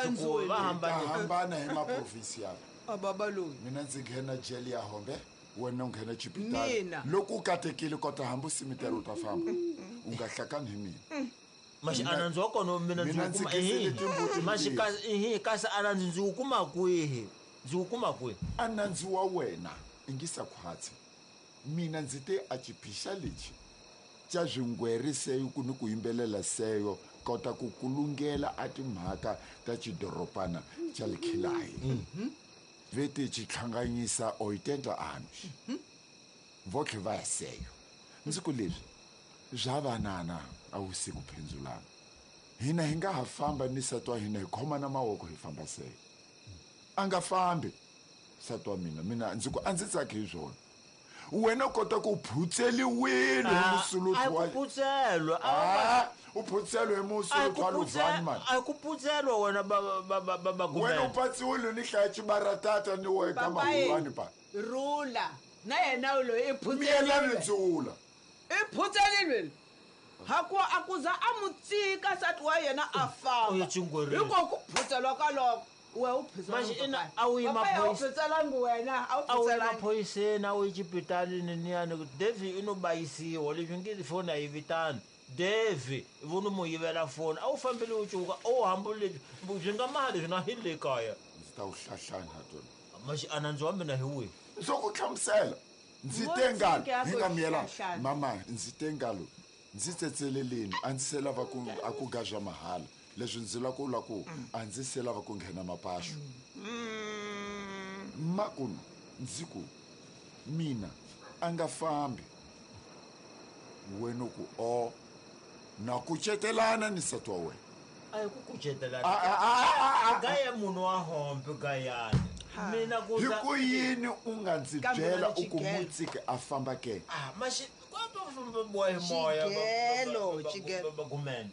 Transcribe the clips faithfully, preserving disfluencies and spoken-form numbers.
ku va hambana hambana hi maprovincial. A baba loyi. Mina ndzi nghena jele ya Hombe, wena u nghena Chipitali. Loko u katekile kota hambi simitero u ta famba. U nga hlakani hi mina. Maxi anandzi wa kona mina ndzi kuma ehi. Maxi kasi kasi anandzi ndzi wu kuma kwihi? Ndzi wu kuma kwihi? Anandzi wa wena ingisa khwatsi. Mina ndzi te a chiphisha lexi xa swingweri seyo ku ni ku yimbelela seyo kota ku kulungela a timhaka ta xidoropana xa Likhilayi. Vete xi hlanganyisa oitenta anos. Votlhe va ya seyo. Ndzi ku leswi bya vanana a wu si ku phendzulana. Hina hi nga ha famba ni nsati wa hina hi khomana mavoko hi famba seyo. A nga fambi nsati wa mina, mina ndzi ku a ndzi tsaki hi swona. Wena u kota ku phutseliwile hi musuluti wa a ku phutselwa a u phutselwe hi musuluti wa Luvani man. A ku phutselwa wena ba ba ba ba wena u patsiwile ni hlaya xibaratata ni wena ka mahulwani pa rula na yena loyi i phutselile ndzula i phutselile haku a kuza a mutsika nsati wa yena a famba hiko ku phutselwa ka loko we u phutselwa a wu yi maphoyiselangi wena a wu phutselangi maphoyiseni a wu yi Chipitali niyani Devi i no bayisiwa leswi nge foni a yi vitani Devi vo no mu yivela foni a wu fambile u cuka u hambule byi nga mali leswi na hi le kaya ndzi ta wu hlahlani ha tona maxi anandzi wa mina hi wihi ndzo ku hlamusela ndzi te ngalo hi nga miyela mama ndzi te ngalo ndzi tsetseleleni a ndzi se lava ku a ku gazwa mahala leswi ndzi la ku la ku a ndzi se lava ku nghena mapaxo makuno ndzi ku mina a nga fambi wena ku o na kucetelana ni nsati wa wena a hi ku kucetelana gaya munhu wa Hombe gayani mina ku hi ku yini u nga ndzi byela u ku mutsiki a famba ke ah maxi moya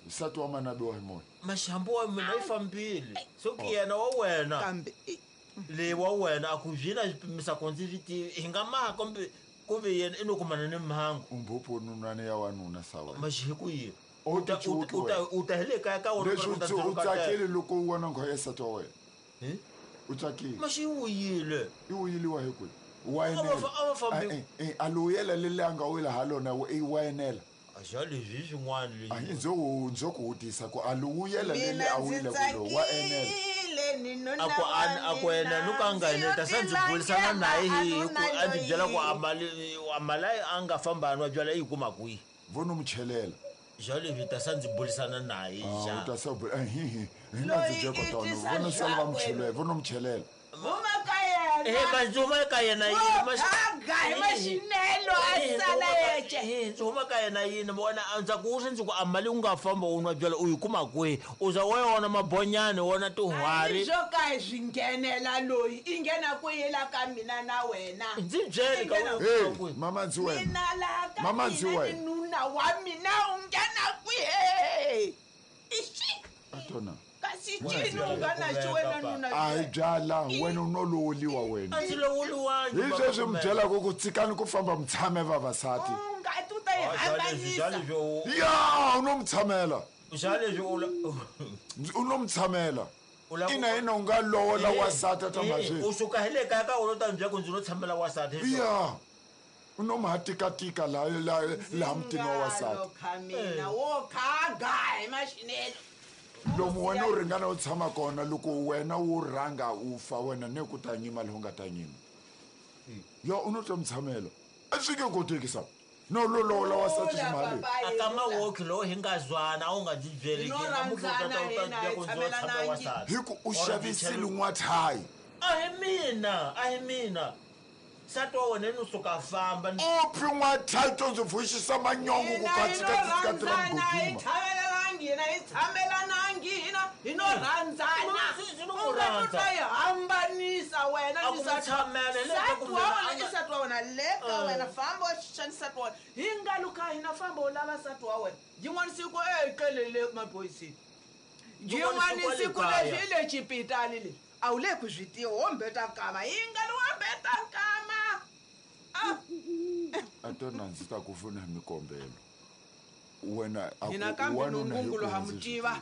nsati wa mana biwa hi moya maxambu wa mina yi fambile so ki yena wa wena kambe le wa wena a ku byina xipimisa ku ndzi swi tivi hi nga maha kumbe ku ve yena i no kumana ni mhangu umbhuphu nunwana ya wanuna sa wena maxi hi ku yini u ta u ta hi le kaya ka wena leswi u tsakile loko u vona nghoya nsati wa wena u tsakile maxi yi wuyile yi wuyiliwa hi kwihi wa enela a luyela leli a nga wila ha lona i wa enela a leswi swin'wana leswi ndzo ndzo ku vutisa ku a luyela leli a wile ku lo wa enela a ku a ku wena no ka nga enela ta sa ndzi burisana naye hi ku a ndzi byela ku a mali a mali a nga famba nwa byala yi kuma kwihi vo no mu chelela xa leswi ta sa ndzi burisana naye xa u ta sa bula hi hi hi nga ndzi byela kotona vo no sala va mu chelela vo no mu chelela huma ka yena eh manzi huma ka yena yini maxaga hi maxinelo a sala yexe eh ndzi huma ka yena yini vona a ndza ku ndzi ku a mali u nga famba u nwa byala u yi kuma kwihi u za wa yona mabonyani wona tihwari swo ka hi swi nghenela loyi i nghena kwihi la ka mina na wena ndzi byele ka hey mama ndzi wena mina la ka mama ndzi wena nuna wa mina u nghena kwihi ixi atona kasi cini u nga na xiwena nuna a hi byala wena u no lowoliwa wena a ndzi lowoliwangi hi sweswi mi byelaka ku tshikani ku famba mi tshame vavasati u nga ti u ta yi hambanisa ya u no mi tshamela xa leswi u u no mi tshamela ina ina u nga lowola wasati ta mazwi u suka hi le kaya ka wena u ta mi byela ku ndzi no tshamela wasati ya u no ma tikatika laha laha mutini wa wasati mina wo khaga hi maxinelo lomu wena u ringana u tshama kona loko wena wu rhanga u fa wena ne ku ta nyima lowu nga ta nyima ya u no ta mi tshamela a swi nge koteki sa no lo lowola wasati ximali a ka mawoki lowu hi nga zwana a wu nga ndzi byeli hi ku u xavisile n'wathayi a hi mina a hi mina nsati wa wena no suka a famba u phi n'wathayi to ndzi vuxisa manyongo ku katsikatsika ra mgodima hi hina hi tshamelanangi hina hi no rhandzana u nga ta yi hambanisa wena ni nsati wa wena i nsati wa wena le ka wena famba wa xixa nsati wa wena hi nga luka hina famba u lava nsati wa wena yin'wana siku e qelele maphoyiseni yin'wana siku leswi i le Chipitali leswi a wu le ku swi tiva wo mbeta nkama yi nga li wo mbeta nkama a tona ndzi ta ku pfuna hi mikombelo wena hina kambe nongungulo ha mu tiva